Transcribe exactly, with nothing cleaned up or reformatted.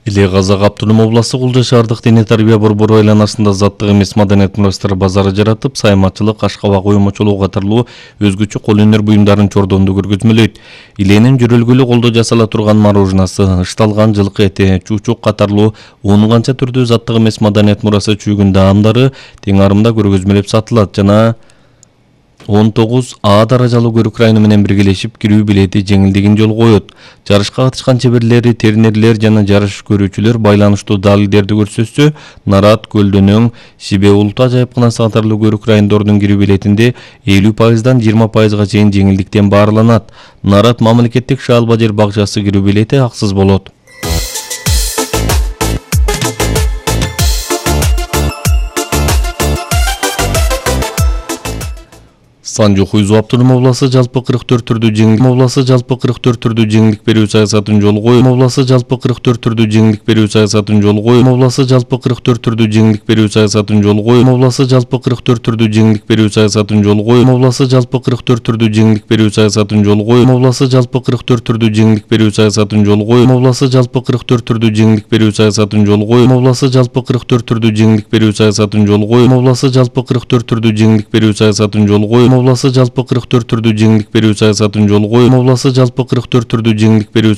Иле Казак Автоном областы Кулжа шаардык диний тарбия борбору айланасында заттык эмес маданият мурастары базары жаратып, сайматчылык, ашкабак уюмучулугу катарлуу өзгөчө кол өнөр буюмдарын чордоонду көргөзмөлөйт. Иленин жөрөлгүлүү колдо жасала турган мороженасы, ышталган жылкы эти, чучук катарлуу он канча түрдүү заттык эмес маданият мурасы чүйгүн даамдары тең арымда көргөзмөлөп сатылат жана он тогуз А даражалуу көрүк району менен биргелешип кирүү билети жеңилдигин жолго коет. Жарышка катышкан чеберлер, тернерлер жана жарыш көрүүчүлөр байланыштуу далилдерди көрсөтсө, Нарат, Көлдөнөң, Сибе улуттуу ажайыпканасы катарлуу көрүк райондордун кирүү билетинде элүү пайыздан жыйырма пайызга чейин жеңилдиктен баарыланат. Нарат мамлекеттик Шаалба жер бакчасы кирүү билети аксыз болот. Санжу Хуйзу Автоном областы жалпы кырк төрт түрдүү жеңилдик областы жалпы кырк төрт түрдүү жеңилдик берүү саясатын жолго коюп, областы жалпы кырк төрт түрдүү жеңилдик берүү саясатын жолго коюп, областы жалпы кырк төрт түрдүү жеңилдик берүү саясатын жолго коюп, областы жалпы кырк төрт түрдүү жеңилдик берүү саясатын жолго коюп, областы жалпы кырк төрт түрдүү жеңилдик берүү саясатын жолго коюп, областы жалпы кырк төрт түрдүү жеңилдик берүү саясатын жолго коюп, областы жалпы кырк төрт түрдүү жеңилдик берүү саясатын жолго коюп, областы жалпы кырк төрт түрдүү жеңилдик берүү саясатын жолго коюп, областы жалпы кырк төрт түрдүү жеңилдик берүү саясатын жолго коюп, областы жалпы кырк төрт түрдүү жеңилдик берүү саясатын жолго коюп, областы жалпы кырк төрт түрдүү жеңилдик берүү